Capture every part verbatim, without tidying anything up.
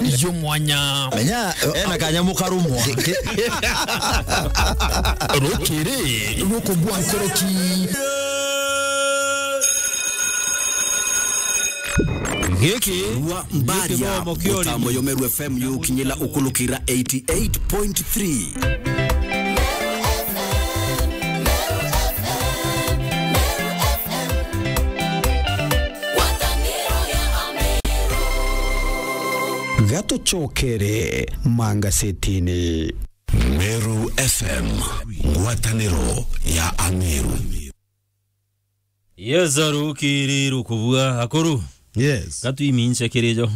Yo mwanya. Menya, ena kanyamu karumwa. Rukiri rukugwa nkuruki. Giki wa Mbaria, giki wa Mokiori. Mutambo yo Meru F M yukinyila ukulukira eighty-eight point three. Gatucokere mangasetini. Meru F M, ngwataniro ya Ameru. Yes, arukiri rukubua akuru. Yes. Gatuimince kirijo.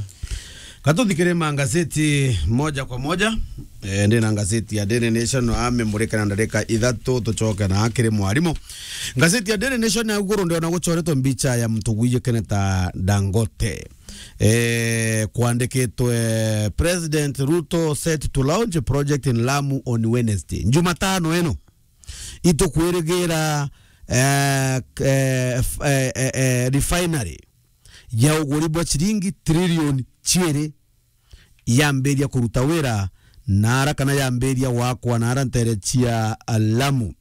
Gatuthikire mangazeti moja kwa moja. Eh, ndina ngazeti ya Daily Nation, amemurika na ndarika ithatu, tucoke na akiri mwarimu. Ngazeti ya Daily Nation ya iguru ndiona gucoretwe mbicha ya mtu gwijikene ta Dangote. Eh, kwandikitwe, "President Ruto set to launch a project in Lamu on Wednesday." Jumatano ino, itukwirigira, eh, k-, eh, f-, eh, eh, eh, refinery ya uguri bwa ciringi trilioni ciiri yambiria kuruta wira nara kana yambiria gwakwa nara ntere cia Lamu.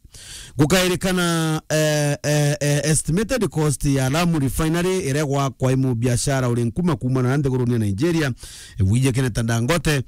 Gukairikana, eh, eh, eh, estimated cost ya Lamu refinery iria gwakwa i mubiashara uri nkuma kuumana na nthiguruni ya Nigeria, wijikene ta Dangote,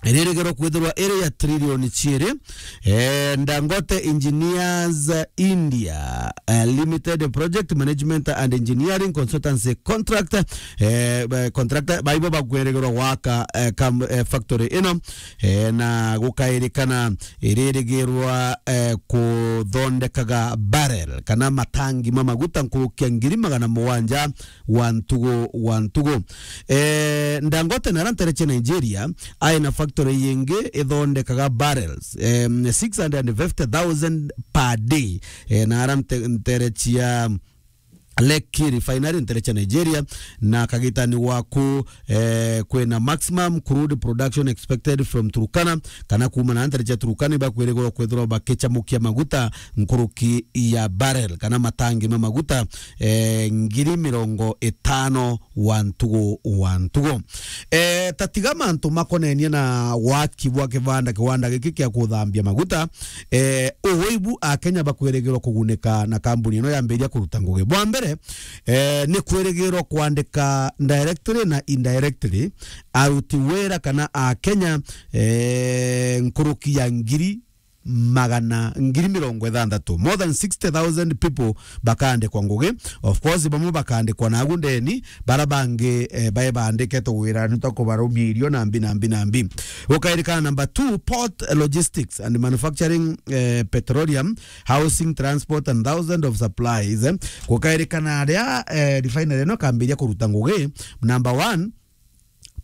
iririgerwa kwithirwa iri ya trilioni ciiri. Eh, Dangote Engineers India, eh, Limited Project Management and Engineering Consultancy Contract, eh, eh, contractor, baibo bakwirigerwa gwaka, eh, kam-, eh, factory ino, eh, na gukairikana iririgirwa, eh, kuthondekaga barrel kana matangi ma maguta nkurukia ngiri magana mugwanja wa ntugu, wa ntugu. Eh, Dangote nara ntere cia Nigeria, ai na factory yingi ithondekaga barrels, em, six hundred and fifty thousand per day. Eh, nara nte-, ntere cia Lekki Refinery, ntere cia Nigeria, na kagitani waku, eh, kwina maximum crude production expected from Turkana, kana kuuma na ntere cia Turkana, ibakwirigwa kwithirwa bakichamukia maguta nkuruki ya barrel, kana matangi ma maguta, eh, ngiri mirongo itano wa ntugu, wa ntugu. Eh, tatiga mantu makonenie na waki bwa kibanda, kiwanda giki kia kuthambia maguta, eh, ugu ibu Akenya bakwirigirwa kugunika na kambuni ino yambiria kuruta ngugi. Bwa mbere, eh, ni kwirigirwa kwandika directly na indirectly aruti wira kana Akenya, eh, nkuruki ya ngiri magana, ngiri mirongo ithanthatu. More than sixty thousand people bakaandikwa ngugi. Of course, bamwe bakaandikwa nagu ndeni, bara bangi, eh, bae baandiketwe wira ni ta kubarumia irio na mbi, na mbi, na mbi. Gukairikana number two, port logistics and manufacturing, eh, petroleum, housing, transport and thousands of supplies. Gukairikana aria, eh, refinery ino kambiria kuruta ngugi. Number one,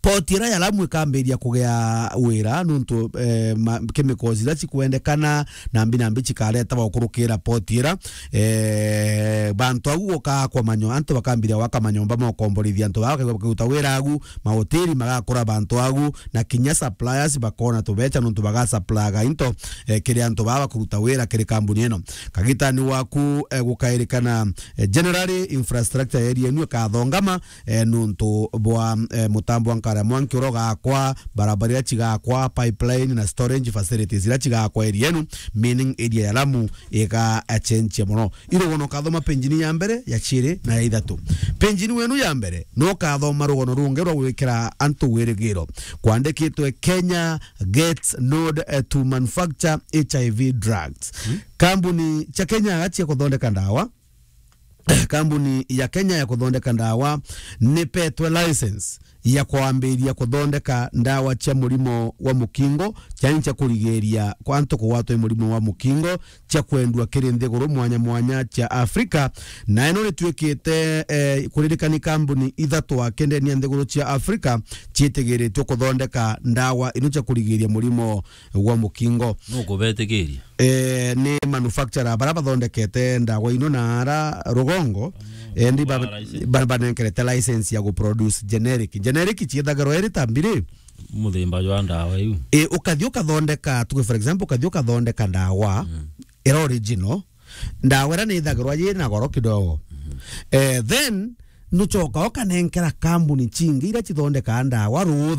port ira ya Lamu ikambiria kugea wira nuntu, eh, ma-, chemicals ira cikwendekana na mbi na mbi cikaretawa ukurukira port ira. Eh, bantu agu gukaakwa manyo-, antu bakambiria gwaka manyomba ma ukomborithia antu baa, bakaruta wira agu, mahoteli magakura bantu agu, na kinya suppliers bakona tubecha nuntu bagasupplyaga into, eh, kiri antu baa bakuruta wira kiri kambuni ino. Kagitani waku, eh, gukairikana, eh, generally infrastructure ya area inu ikathongama, eh, nuntu bwa, eh, mutambo wa nkara mwanki uria ugakwa, barabara iria cigakwa, pipeline na storage facilities iria cigakwa area inu, meaning area ya Lamu iga, eh, change mono. Irugono ukathoma page ni ya mbere, ya ciiri na ya ithatu. Page ni wenu ya mbere, no ukathoma rugono rungi rwa gwikira antu wirigiro. Kwandikitwe, "Kenya gets nod, eh, to manufacture H I V drugs." Hmm? Kambuni cia Kenya cia kuthondeka ndawa kambuni ya Kenya ya kuthondeka ndawa nipetwe license ya kwambiria kuthondeka ndawa cia murimo wa mukingo, ciani cia kurigiria kwa antu kugwatwa ni murimo wa mukingo, cia kwendua kiri nthiguru mwanya mwanya cia Afrika. Na ino nituikite, eh, kuririkani kambuni ithatu akendenia nthiguru cia Afrika ciitigiritwe kuthondeka ndawa ino cia kurigiria murimo wa mukingo. Nukubetikiria? Eh, ni manufacturer bara bathondekete ndawa ino na ara rugongo, endi ba-, ba-, banenkerete license ya guproduce generic. Generic ciethagirwa iri ta mbiri. Muthemba jwa ndawa iu. Eh, ukathi ukathondeka, tuge for example, ukathi ukathondeka ndawa, mm, ira original, ndawa ira ni ithagirwa yi na goro kidogo. Mhm. Eh, then, nucoka ukanenkera kambuni cingi ira cithondekaa ndawa rutha